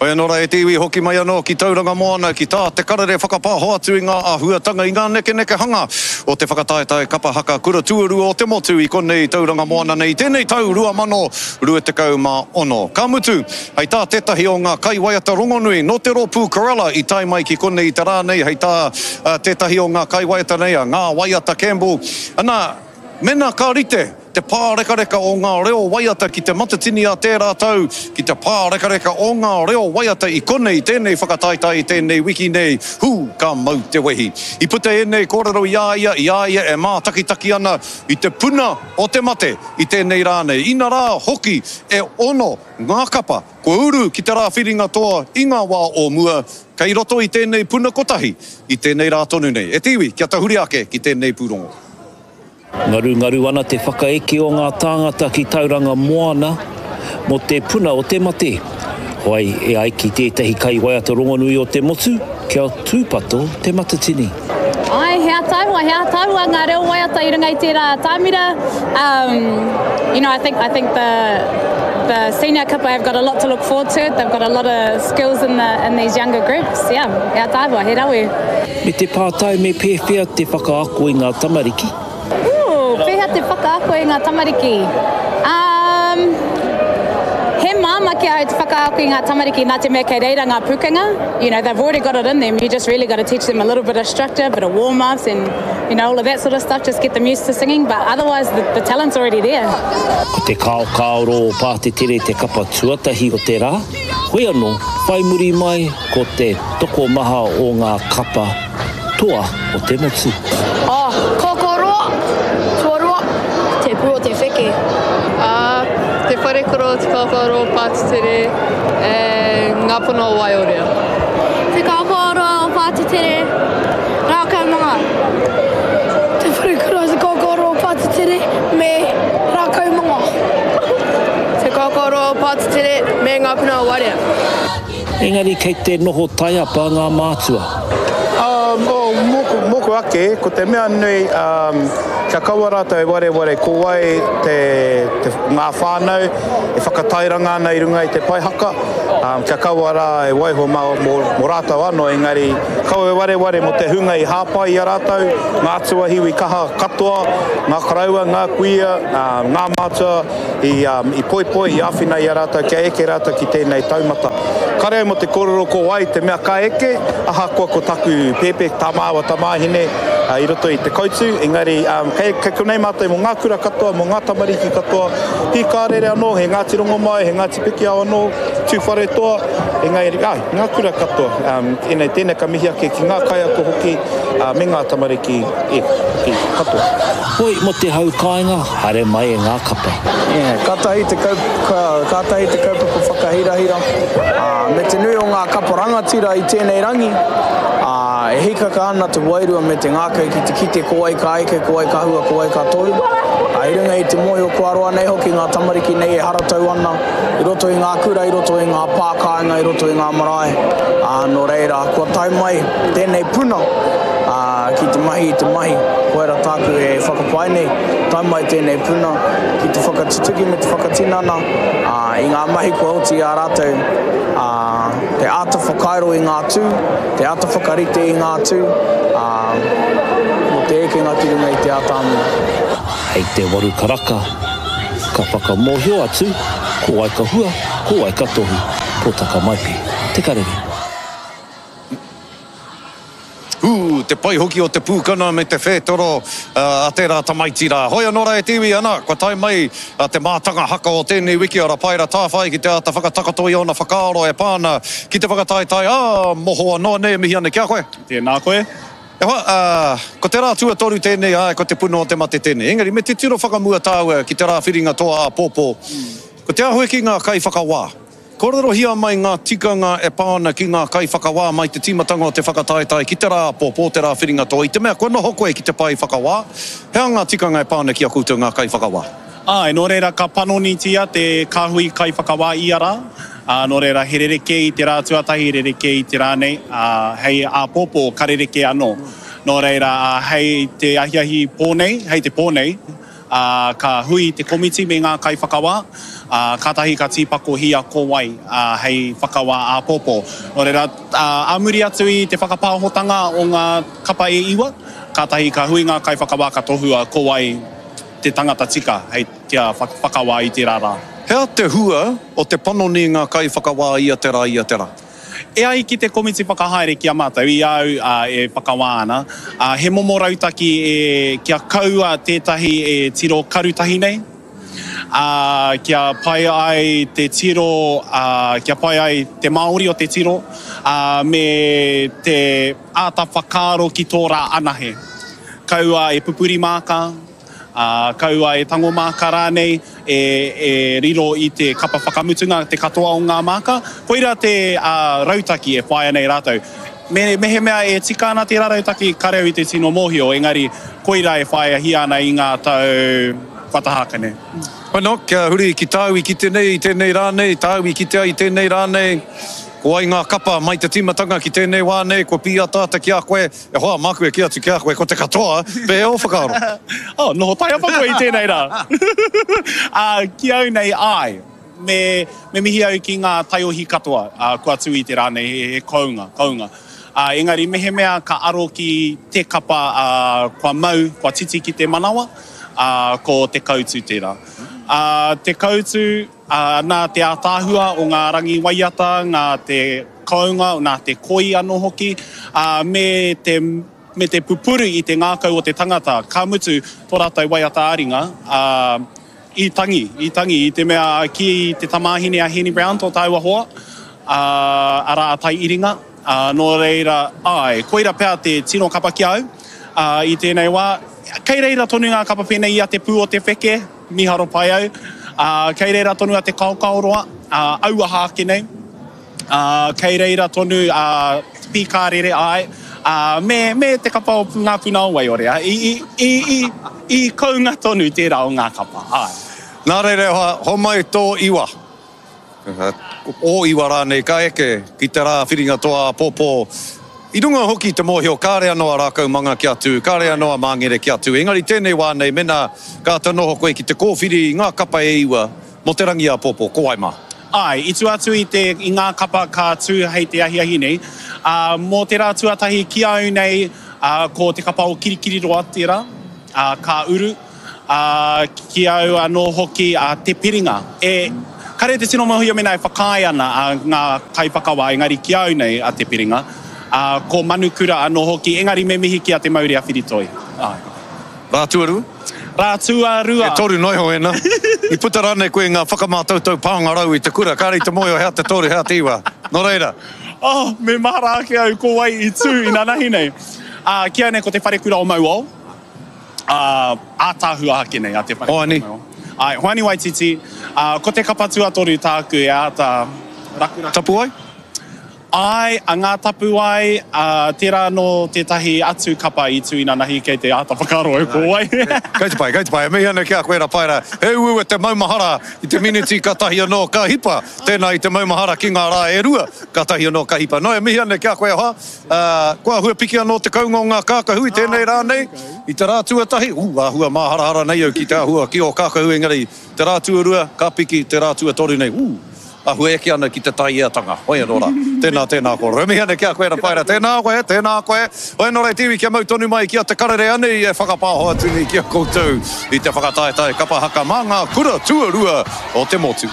Hoi anō rā e te iwi, hoki mai anō ki Tauranga Moana ki tā Te Karere whakapāho atu i ngā āhuatanga, i ngā nekenekehanga o te whakataetae kapa haka kura tuarua o te motu i konei i Tauranga Moana nei i tēnei tau 2026. Ka mutu, hei tā tētahi o ngā kaiwaiata rongonui nō te rōpū Corella i tae mai ki konei i te rā nei, hei tā tētahi o ngā kaiwaiata nei, a Ngā Waiata Campbell, ana, Mēnā ka rite te pārekareka o ngā reo waiata ki Te Matatini a tērā tau, ki te pārekareka o ngā reo waiata i konei tēnei whakataetae i tēnei wiki nei, hū, ka mau te wehi. I puta ēnei kōrero i a ia, i a ia e mātakitaki ana i te puna o te mate i tēnei rā nei. Inarā hoki e ono ngā kapa kua uru ki te rā whiringa toa i ngā wā o mua, kei roto i tēnei puna kotahi i tēnei rā tonu nei. E te iwi, kia tahuri ake ki tēnei pūrongo. Ngarungaru ana te whakaeke o ngā tāngata ki Tauranga Moana mō te puna o te mate. Whai, e ai ki tētahi kaiwaiata rongonui o te motu, kia tūpato Te Matatini. Āe, he ataahua, he ataahua ngā reo waiata i runga i tērā atamira. Um, you know, I think, I think the, the senior kapa have got a lot to look forward to. They've got a lot of skills in, the, in these younger groups. Yeah, he ataahua, he rawe. Me te pātai me pēwhea te whakaako i ngā tamariki? Ooh, pēhea te whakaako i ngā tamariki? Um, he māmā ki ahau te whakaako i ngā tamariki nā te mea kei reira ngā pūkenga. You know, they've already got it in them. You just really got to teach them a little bit of structure, a bit of warm-ups and, you know, all of that sort of stuff. Just get them used to singing. But otherwise, the, the talent's already there. Ko te kaokaoro o Pātetere te kapa tuatahi o te rā, hoi anō, whai muri mai Ko te tokomaha o ngā kapa toa o te motu. A, Kōkōroa, tuarua, te pū o te wheke. A, Te Wharekoro, Te Kōkōroa, Pātetere, and Ngā Puna o Waiorea. Te Kōkōroa o Pātetere, Rākaumanga. Te Wharekoro, Te Kōkōroa o Pātetere, me Rākaumanga. Te Kōkōroa o Pātetere, me Ngā Puna o Wairea. Engari kei te noho taiapa ngā mātua. Um, oh, mōku, mōku ake, ko te mea nui, um, kia kaua rātou e wareware ko wai te, te, ngā whānau e whakatairanga ana i runga i te pae haka, um, kia kaua rā e waiho mā, mō, mō rātou anō, engari kaua e wareware mō te hunga i hāpai i a rātou, ngā tuahiwi kaha katoa, ngā koroua, ngā kuia, um, ngā mātua, i poipoi, i āwhina i a rātou kia eke rātou ki tēnei taumata. Kare au mō te kōrero ko wai te mea ka eke, ahakoa ko taku pēpē, tā māua tamāhine i roto i te koutu, engari kei, kei konei mātou mō ngā kura katoa, mō ngā tamariki katoa, Hīkārere anō, he Ngāti Rongomai, he Ngāti Pikiao anō, Tūwharetoa, engari, āe, ngā kura katoa. Ēnei, tēnei ka mihi ake ki ngā kaiako hoki, me ngā tamariki, e, hoki, katoa. Hoi mo te hau kāinga, haere mai e ngā kapa. Yeah, katahi te kaup, kātahi te kaupapa whakahirahira, ā, me te nui o ngā kapa rangatira i tēnei rangi, ā, e hīkaka ana te wairua me te ngākau ki te kite ko wai ka eke, ko wai ka hua, ko wai ka tohu. Ā, i runga i te mōhio kua roa nei hoki ngā tamariki nei e haratau ana i roto i ngā kura, i roto i ngā pā kāinga, i roto i ngā marae, ā, nō reira, kua tae mai tēnei puna, ā, ki te mahi i te mahi, koira tāku e whakapae nei, tae mai tēnei puna ki te whakatutuki me te whakatinana, ā, i ngā mahi kua oti i a rātou, ā, te āta whakairo i ngā tū, te āta whakarite i ngā tū, ā, mō te ekenga ki runga i te atamira. Hei te waru karaka, ka whakamōhio atu ko wai ka hua, ko wai ka tohu, Potaka Maipi, Te Karere. Ū, te pai hoki o te pūkana me te whētoro a tērā tamaiti rā. Hoi anō rā e te iwi, ana, kua tae mai te mātanga haka o tēnei wiki a Rapaera Tāwhai ki te āta whakatakoto i ōna whakaaro e pā ana ki te whakataetae ā mohoa noa nei e mihi ana ki a koe. Tēnā koe. E hoa, ā, ko te rā tuatoru tēnei, āe, ko te puna o te mate tēnei. Engari, me titiro whakamua tāua ki te rā whiringa toa āpōpō. Ko te āhua ki ngā kaiwhakawā. Kōrerohia mai ngā tikanga e pā ana ki ngā kaiwhakawā mai te tīmatanga o te whakataetae ki te rā āpōpō, te rā whiringa toa, i te mea kua noho koe ki te pae whakawā, he aha ngā tikanga e pā ana ki a koutou ngā kaiwhakawā? Āe, nō reira ka panonitia te kāhui kaiwhakawā ia rā, ā, nō reira he rerekē i te rā tuatahi, rerekē i te rā nei, ā, hei āpōpō ka rerekē anō. Nō reira, ā, hei te ahiahi pō nei, hei te pō nei, ā, ka hui te komiti me ngā kaiwhakawā, Ā, kātahi ka tīpakohia ko wai hei whakawā āpōpō. Nō reira, ā muri atu i te whakapāhotanga o ngā kapa e iwa, kātahi ka hui ngā kaiwhakawā ka tohua ko wai te tangata tika hei kia whakawā i tērā rā. He aha te hua o te panoni i ngā kaiwhakawā ia te rā, ia te rā? E ai ki te komiti whakahaere ki a mātou, i a au e whakawā ana, he momo rautaki e kia kaua tētahi e tiro karutahi nei, ā, kia pai ai te tiro, ā, kia pai ai te Māori o te tiro, ā, me te āta whakaaro ki tō rā anahe. Kaua e pupuri māka, ā, kaua e tango māka rānei, e, e riro i te kapa whakamutunga te katoa o ngā māka. Koirā te, ā, rautaki e whāia nei rātou. Me, mehemea e tika ana tērā rautaki, kare au i te tino mōhio, engari koirā e whāiahia ana i ngā tau kua taha ake nei. Bueno, kia huri ki tāu i kite nei i tēnei rā nei, tāu i kite ai i tēnei rā nei, ko wai ngā kapa mai te tīmatanga ki tēnei wā nei, kua pīataata ki a koe, E hoa, māku e kī atu ki a koe, ko te katoa, pēhea ō whakaaro? Oh, noho taiapa koe i tēnei rā. Ā, ki au nei, āe, me, me mihi au ki ngā taiohi katoa, ā, kua tū i te rā nei, he, he kounga, kounga. Ā, engari mehemea ka aro ki te kapa, ā, kua mau, kua titi ki te manawa, ā, ko Te Koutu tērā. Ā, Te Koutu, ā, nā te ātaahua o ngā rangi waiata, ngā te kounga, nā te koi anō hoki, ā, me te, me te pupuru i te ngākau o te tangata, ka mutu tō rātou waiata ā-ringa, ā, i tangi, i tangi, i te mea ki te tamāhine a Heni Brown, tō tāua hoa, ā, arā a Tai Iringa, ā, nō reira, āe, koira pea te tino kapa ki a au, ā, i tēnei wā. Kei reira tonu ngā kapa pēnei i a Te Pū o Te Wheke, mīharo pai au, ā, kei reira tonu a Te Kaokaoroa, ā, auaha ake nei. Ā, kei reira tonu a Pīkārere, āe, ā, me, me te kapa o Ngā Puna o Waiore, ā, i, i, i, i, i kounga tonu tērā o ngā kapa, āe. Nā reira e hoa, homai tō iwa, ō iwa rānei ka eke ki te rā whiringa toa āpōpō. I runga hoki i te mōhio kāre anō a Rākaumanga kia tū, kāre anō a Māngere kia tū, engari tēnei wā nei mēnā ka āta noho koe ki te kōwhiri i ngā kapa e iwa mō te rangi āpōpō, ko wai mā? Āe, i tua atu i te, i ngā kapa ka tū hei te ahiahi nei, ā, mō te rā tuatahi ki a au nei, ā, ko te kapa o Kirikiriroa tērā, ā, ka uru, ā, ki a au anō hoki a Te Piringa. E, kare te tino mōhio mēnā e whakaae ana a ngā kaiwhakawā, engari ki a au nei a Te Piringa, ā, ko Manukura anō hoki, engari me mihi ki a Te Maurea-Whiritoi. Āe. Rā tuarua? Rā tuarua. E toru noa iho ēnā. I puta rānei koe i ngā whakamātautau pāngarau i te kura, kāre i te mōhio hea te toru, hea te iwa. Nō reira. Oh, me mahara ake au ko wai i tū inanahi nei. Ā, ki au nei ko te wharekura o Mauao. Ā, ātaahua ake nei a te wharekura o Hoani. Mauao. Āe, Hoani Waititi. Ā, ko te kapa tuatoru tāku e āta rakuraku. Tapuwae? Āe, a Ngā Tapuwae, ā, tērā anō tētahi atu kapa i tū inanahi kei te āta whakaaro au ko wai. Kei te pai, kei te pai. E mihi ana ki a koe Rapaera. He uaua te maumahara i te miniti katahi anō ka hipa. Tēnā i te maumahara ki ngā rā e rua katahi anō ka hipa. Nō, e mihi ana ki a koe e hoa. Ā, kua āhua piki anō te kounga o ngā kākahu i tēnei rā nei, i te rā tuatahi. Ū, āhua māharahara nei au ki te āhua ki ō kākahu engari te rā tuarua ka piki, te rā tuatoru nei, ū! Ahu eke ana ki te taieatanga. Hoi anō rā. Tēnā, tēnā kōrero. E mihi ana ki a koe Rapaera. Tēnā koe, tēnā koe. Hoi anō rā te iwi kia mau tonu mai ki a Te Karere anei e whakapāho atu nei ki a koutou i te whakataetae kapa haka mā ngā kura tuarua o te motu.